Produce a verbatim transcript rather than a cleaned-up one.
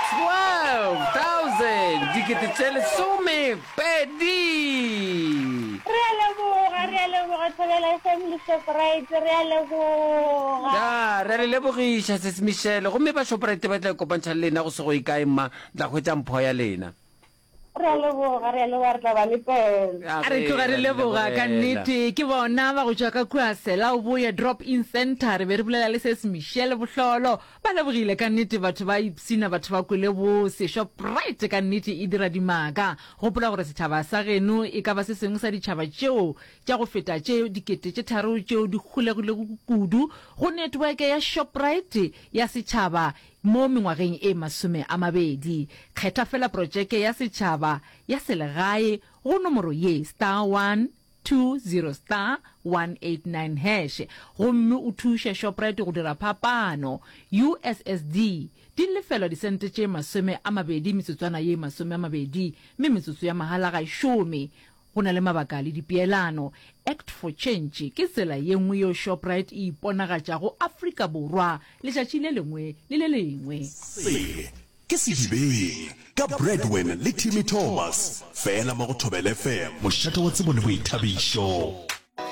Twelve thousand, dikete tše lesome pedi. Re a leboga, re a leboga Thobela F M le Shoprite, re a leboga. Ya, re a le lebogiša Sesi Michelle, gomme ba Shoprite ba tla ikopantšha le lena go se go ye kae mma, le tla hwetša mpho ya lena. Re a leboga, re a leboga, re tla ba letela. A re tloga re leboga ka nnete. Ke bona ba go tšwa ka kua Selaoboye Drop In Centre. Re be re bolela le Ses Michelle Bohlolo. Ba lebogile ka nnete, batho ba ipshina, batho ba kwele bose. Shoprite ka nnete e dira dimaka. Gopola gore setšhaba sa geno e ka ba se sengwe sa ditšhaba tšeo tša go feta tše dikete tše tharo tšeo di holegilego kudu go network ya Shoprite ya setšhaba mo mengwageng e masome a mabedi. Kgetha fela protšeke ya setšhaba ya selegae go nomoro ye, star one two zero star one eight nine hash, gomme o thuše Shoprite go dira phapano. U S S D di lefelwa disente tše masome a mabedi metsotswana ye masome a mabedi, mme metsotso ya mahala ga e šome. Go na le mabaka le dipeelano. Act for Change ke tsela ye nngwe yeo Shoprite e iponagatšago Afrika Borwa letšatši le lengwe le le lengwe. Se ke Sedibeng ka Bradwin le Timmy Thomas, fela mo go Thobela F M, mošate wa tsebo le boithabišo.